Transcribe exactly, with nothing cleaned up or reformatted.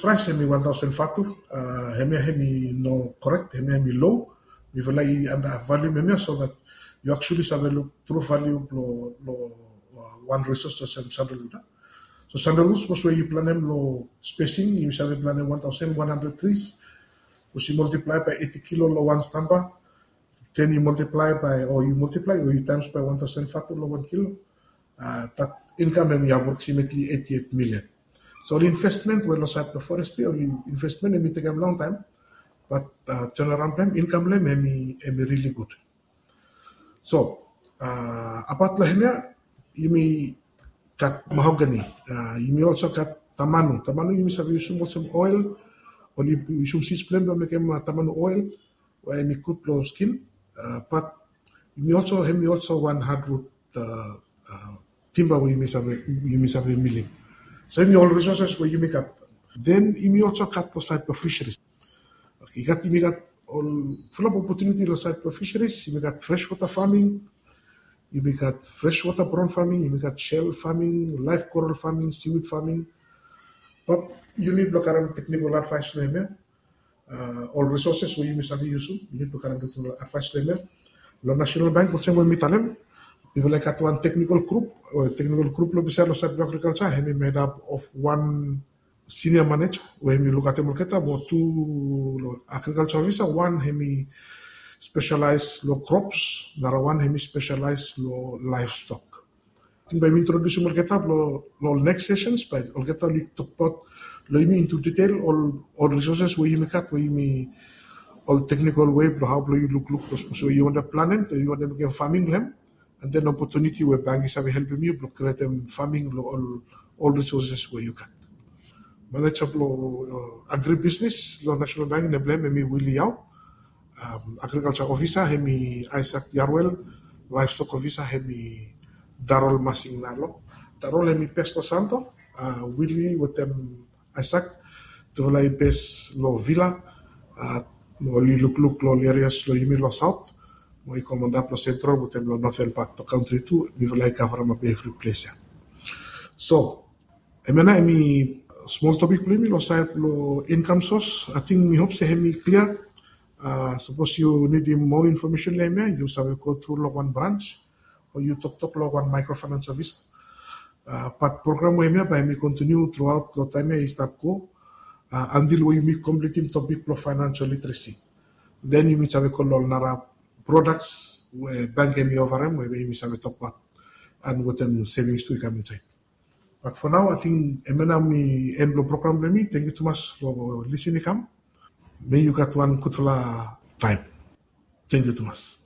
Price hemi wan thousand fatu, uh, hemia hemi no correct, hemia hemi low. Mifala i undervalue hemia, so that you actually save look true value lo, lo uh, wan resource olsem sandalwood. So sandalwood, sapos we yu planem lo spacing, yu save planem one thousand one hundred trees. Sapos yu multiply by eighty kilo lo wan stamba, then yu multiply by, or yu multiply, or yu times by one thousand fatu lo wan kilo, uh, that income hemi approximately eighty-eight million. So ol investment we lo side lo forestry, ol investment hemi tekem long time, but uh, turnaround blem, income blem hemi, hemi really good. So uh, apat lo hemia, yumi gat mahogany, uh, yumi also gat tamanu. Tamanu yumi save yusum olsem oil, oli yusum seeds blem lo mekem uh, tamanu oil, we hemi gud lo skin. Uh, but yumi also, hemi also wan hardwood uh, uh, timber we yumi save, yumi save milim. So hemi ol resources we yumi gat. Then yumi also gat lo side lo fisheries. Okay, i gat, yumi gat ol fulap opportunity lo side lo fisheries. Yumi gat freshwater farming, yumi gat freshwater prawn farming, yumi gat shell farming, live coral farming, seaweed farming. But yumi blong karem technical advice lo hemia. Uh, ol resources we yumi save yusum, yumi blong karem technical advice lo hemia. Lo National Bank, olsem we mi talem, mifala i gat wan technical group, uh, technical group lo bisaed lo side lo agriculture, hemi made up of one senior manager we hemi lukaotem olgeta, mo tu lo agriculture officer, wan hemi specialize lo crops, nara wan hemi specialize lo livestock. Ating bae mi introdusim olgeta lo, lo ol next sessions, bae olgeta oli tokbaot lo yumi into detail ol, ol resources we yumi gat, we yumi, ol technical way blo hao blo yu lukluk, blo sapos we yu wantem planem, o yu wantem mekem farming lo hem, and then opportunity we bank i save helpem yu blo krietem farming lo ol, ol resources we yu gat. Manager blo uh, agribusiness lo National Bank, nem blo hem hemi Willie Yao. Um, agriculture officer hemi Isaac Yarwell, livestock officer hemi Darrell Masing Nalo. Darrell hemi base lo Santo, uh, Willie wetem Isaac, tufala i base lo Vila, uh, oli lukluk lo ol areas lo yumi lo South, mo i go antap lo Central wetem lo Northern part lo country tu, mifala i coverem evri ples ia. So, hemia nao hemi small topic blo yumi lo side lo income source. Ating mi hope se hemi clear. Uh, sapos yu nidim more information lo hemia, yu save go tru lo wan branch, o yu toktok lo wan microfinance officer. Uh, but program we hemia bae hemi continue throughout lo taem ia i stap go, uh, until we yumi completem topic blo financial literacy. Then yumi save go lo ol nara products we bank hemi offerem, we yumi save tokbaot, and wetem savings tu i kam insaed. But for now, ating hemia nao hemi end blo program blo yumi. Tangkiu tumas lo lisin i kam. May yu gat wan gudfala taem. Tangkiu tumas.